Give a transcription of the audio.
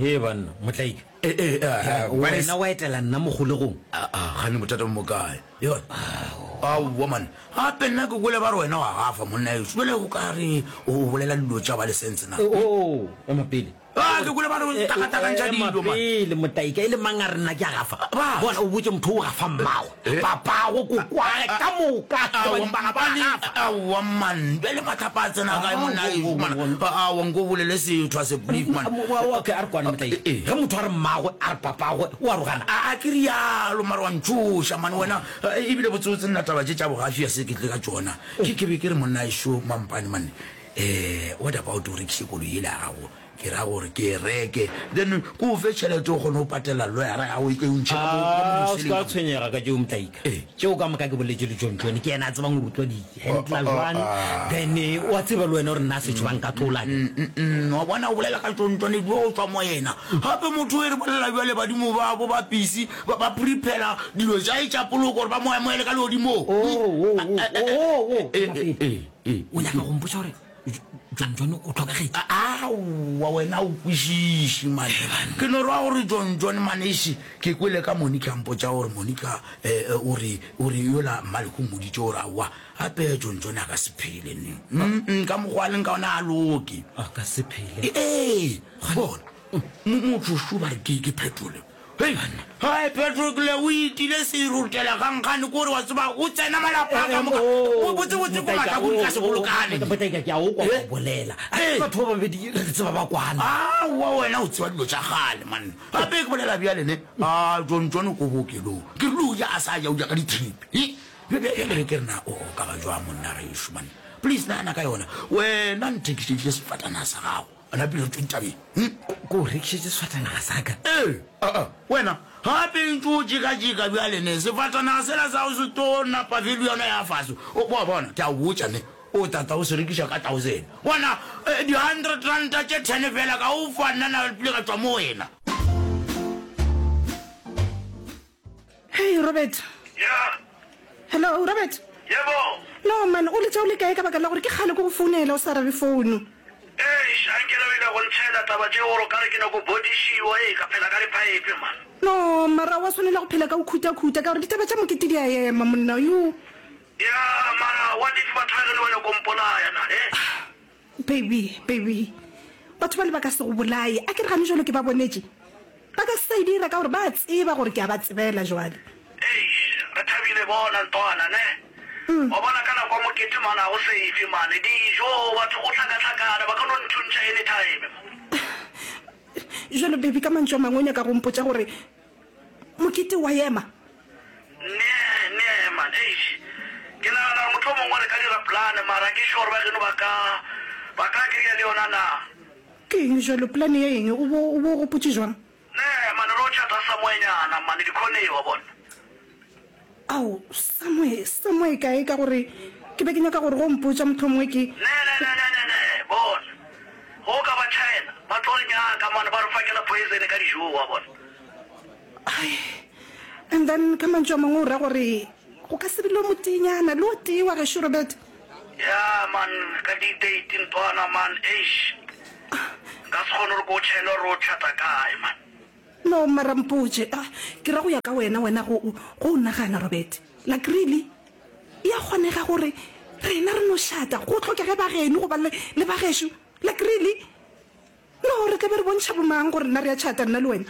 He banna, Motlaika. Eh, eh, eh, Wena wa etela nna mo kgolegong? Aa, gane bothata bo mo kae? Yona. Aowa man, gape nna ke kwele ba re wena wa gafa monna ešo. Bjale o ka re o bolela dilo tša ba le sense na? Oo, ema pele. Ah, ke kwele ba re o takatakantšha Ema dilo man. pele, Motaika, e le mang a re nna ke a gafa? Ba. Bona, o botše motho o gafa mmagwe, papago, kokwagwe, ka moka. Ke Aowa, badimo ba gafa, mampane, gafa. aowa man, bjale mahlapa a tsena kae monna ešo man? Aowa, nko bolele setho a se brief man. Okay, a re kwane Motaika. Ge motho a re mmagwe, a re papagwe, o a rogana. A ke rialo, mara wa ntšhoša man wena. Ebile botsebotse nna taba tše tša bogafi a se ke tle ka tšona. Ke ke be ke re monna ešo mampane man, eh, what about o rekiše koloi yela ya gago? Ke ra gore ke e reke, then ke o fe tšhelete o kgone go patela lawyer-a ya gago e o ntšhe ka mo ka mo Ah, o se ka diseleng ka mo. tshwenyega ka tšeo Mtaika. Ee. Tšeo ka moka ke boletše le John John, ke yena a tsebang gore o tlo di handla jwang. Then o a tseba le wena gore nna setšo ba nka tlola ke. Mm, wa bona o bolela ka John John ebile o tswa mo yena. Gape motho o e re bolela bjale badimo ba bo ba pisi ba ba prepare dilo tša e tša poloko gore ba mo amohele ka legodimong. Oh, oh, oh, oh, oh, Eh, ema eh, pele. eh, eh, O nyaka go mpotša gore John John o hlokagetše? Aowa wena o kwešiše mane. Ke no ra gore John John maneše ke kwele ka Monica a mpotša gore Monica eh, o re o re yola Mmaleko o mmoditše gore aowa gape John John a ka se phele ne. Mm, ka mokgwa a leng ka ona a loke. A ka se phele. Ee, bona motho šo ba re ke ke phetole. Hei, hai Patrokle o itile serutela kgankgane kore wa tseba o tsena malapa a ka moka. Oh, Botse botse ko mahlakong ka se bolokane. Motaika ke a o kwa o bolela. Eh. Batho ba babedi re tseba ba kwana. Aowa wena o tseba dilo tša kgale man. Gape ke bolela bjale ne. A John John ko bookelong. Ke rile o ja a sa ja o ja ka di-trip. He? Bjale be ke re na o ka ba jwang monna gešo man. Please nagana ka yona. Wena nthekišeditše sefatanaga sa gago. A napile re tšwe ditabeng. Hm? Ko o rekišetše sefatanaga sa ka? Ee, aa, wena, gape ntše o jekajeka bjale ne, sefatanaga sela sa go se tlo napa value yona ya fase. O, wa bona, ke a o botša ne, o tata o se rekiša ka thousand. Bona, eh, di-hundred ranta tše ten fela ka o fa nna napile ka tšwa mo wena. Hey Robert. Yeah. Hello Robert. Yebo. No man, o letša o le kae ka baka la gore ke kgale ke go founela o sa arabe founu. Eish, anke le o ile go ntšhela taba tše gore o ka re ke nyako bodišiwa, ee, ka phela ka diphaephe man. No, mara wa swanela go phela ka go khutha-khutha ka gore ditaba tša mokete di a ema monna, yo. Yeah, mara what if batho ba geno ba nyako mpolaya na, eh? Baby, baby, batho bale ba ka se go bolaye. A ke re gane jwalo ke ba bonetše? Ba ka se sa e dira ka gore ba a tseba gore ke a ba tsebela jwale. Eish, re thabile bona ntwana, ne? Wa bona ka nako ya mokete mane ga go safe mane, dijo, batho go hlakahlakana, ba ka no nthuntšha anytime man. Jwalo baby, ka mantšu a mangwe o nyaka go mpotša gore Mokete wa ema. Nee, nee man, eish. Ke nagana gore mohlomongwe re ka dira plan, mara ke sure ba geno ba ka, ba ka agree-a le yona na? Ke eng jwalo? Plan ya eng? O bo, o bo gopotše jwang? Nee man, re o chata somewhere-nyana man, dikhoneng wa bona. Ao, somewhere, somewhere kae? Ka gore ke be ke nyaka gore go mpotša mohlomongwe ke. Nee, nee, nee, nee, nee, nee, bona. Ge o ka ba China, ba tlo re nyaka man, ba re fakela poison ka dijong wa bona. Ai, and then ka mantšu a mangwe o ra gore go ka se be le o moteenyana le o tee wa gešo Robert? Ya man, ka di date ntwana man, eish. Nka se kgone gore ke o tšhele gore o tšhata kae man. No, mara mpotše, ah, ke ra go ya ka wena, wena go, go o nagana Robert. Like really? E a kgonega gore rena re no šata go hlokege ba geno goba le, le ba gešo? Like really? No, re tla be re bontšha bomang gore nna re a tšhata nna le wena?